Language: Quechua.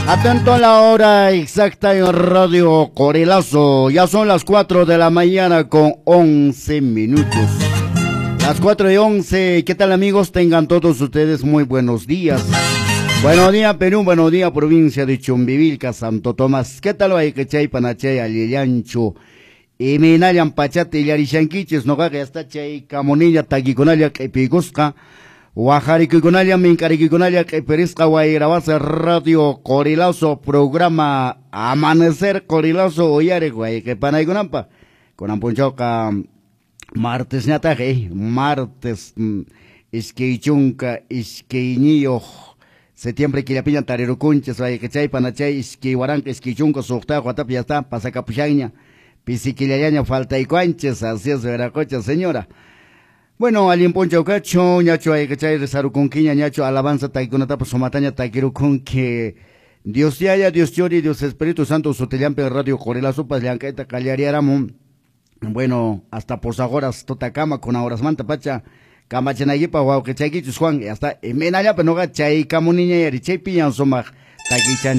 Atento a la hora exacta en Radio Qorilazo. Ya son las 4 de la mañana con 11 minutos. Las 4:11. ¿Qué tal, amigos? Tengan todos ustedes muy buenos días. Buenos días, Perú. Buenos días, provincia de Chumbivilca, Santo Tomás. ¿Qué tal, wayqichay, panachay, allillanchu? Imaynallan pachata illarishankichis, noqaqa hasta chay kamuniña takikunalla q'ipiykusqa. Wajarikuykunalla, mink'arikuykunalla q'ipirisqa wayrawasa Radio Qorilazo programa Amanecer Qorilazo uyariq wayqi panaykunanpaq. Kunan p'unchawqa martesñataq, martes 22 septiembre killapiña tarirukunchis wayqichay panachay 2026 watapi ya está pasakapushanña pisi killallaña faltaykuanchis, así es, veracocha señora. Bueno, allin p'unchaw kachu, ñachu wayqichay risarukunkiña, ñachu alabanza takikunatapas sumataña takirukunki. Dios Yaya, Dios Churi, Dios Espíritu Santo sutillampi Radio Qorilazopas llank'ayta qallariaramun. Bueno, hasta horas tutakama kuna horasmanta pacha kamachinaykipaq wawqichaykichus Juan, hasta imaynallapi noqa chaykamuniña yari chaypiñan sumaq takichan.